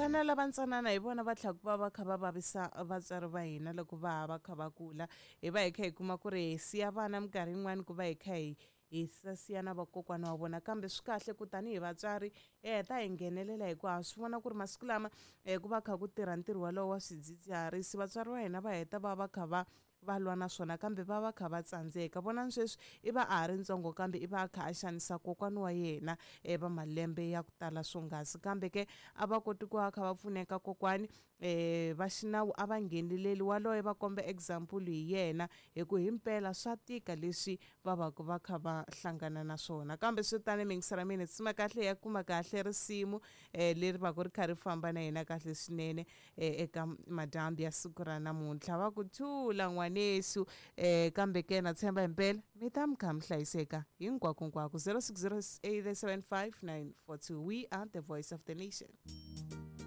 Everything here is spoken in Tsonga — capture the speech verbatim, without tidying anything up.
Vana lava ntsanana hi vona va tlhela ku va va kha va vavisa vatswari va hina loko va ha va kha va kula. Hi va hi kha hi kuma ku ri hi siya vana minkarhi yin'wani ku va hi kha hi hi siya na vakokwana wa vona, kambe swi kahle ku tanihi vatswari hi heta hi nghenelela hikuva ha swi vona ku ri masiku lama um ku va kha ku tirha ntirho wolowo wa swidzidziharisi, vatswari va hina va heta va va kha va va lwa na swona kambe va va kha va tsandzeka. Vonani sweswi i va a ha ri ntsongo kambe i va a kha a xanisa kokwana wa yena um va malembe ya ku tala swonghasi, kambe ke a va koti ku va kha va pfuneka kokwani um va xinawu a va ngheneleli, waloye va komba example hi yena hi ku himpela swa tika leswi va va ku va kha va hlangana na swona. Kambe swi tani mingisela mina tsima kahle ya kuma kahle risimu um leri va ku ri kha ri famba na hina kahle swinene um eka madyambu ya siku ra namuntlha. Va ku thula n'wanesu um kambe ke na tshemba himpela mi ta mi kha mi hlayiseka hinkwakonkwako. Zero six zero eight seven five nine four two. We are the voice of the nation.